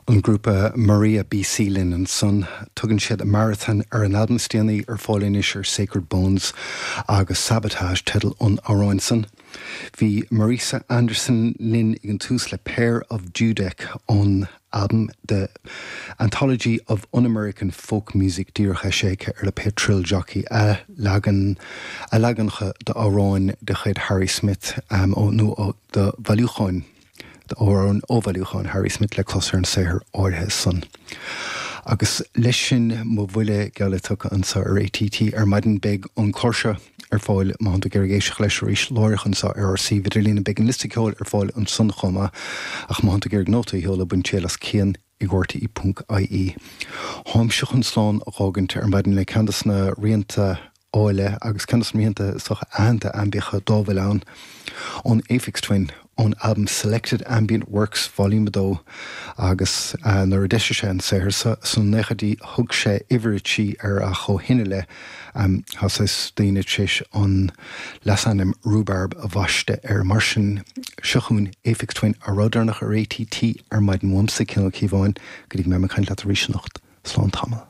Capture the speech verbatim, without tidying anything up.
An grúpa Maria B C linn ansan. Tugann siad Marathon ar an albam is déanaí, ar fáil anois ar Sacred Bones, agus Sabotage teideal an amhráin san. Bhí Marisa Anderson linn ag an tús le Pair of Dudek ón album The Anthology of Un-American Folk Music, díreach eisithe ar le Thrill Jockey, a leagan a leaganacha d'amhráin de chuid Harry Smith um, ó nó de bhailiúcháin d'amhráin ó bhailiúchán Harry Smith le clos ar an saothar áirithe san. Agus leis sin mo bhuille geall tugtha anseo ar A T T ar maidin. Beidh an clár seo ar fáil má tú ag éisteacht leis arís láithreach anseo ar ár suíomh idirlín. Beidh an liosta ceoil ar fáil ansan chomh maith, ach má tú ag nóta sheola bain triail as Cian ag R T E ponc I E. Táimse chun slán a fhágaint ar maidin le ceann de na rianta áille agus ceann de na rianta sách aitheanta aimbiacha dá bhfuil ann, ón Aphex Twin, ón album Selected Ambient Works Volume two. Agus uh, nuair a d'eisigh sé an saothar sna nóchaidí, thug sé uimhir a trí air, ach ó shin i leith um, tá daoine tar éis an leasainm Rhubarb a bhaisteadh air. Mar sin, seo chugainn Aphex Twin, a rud ar A T T ar maidin. Uaimse, Cian Ó Cíobháin, go dtí mé caint leat arís anocht. Slán tamall.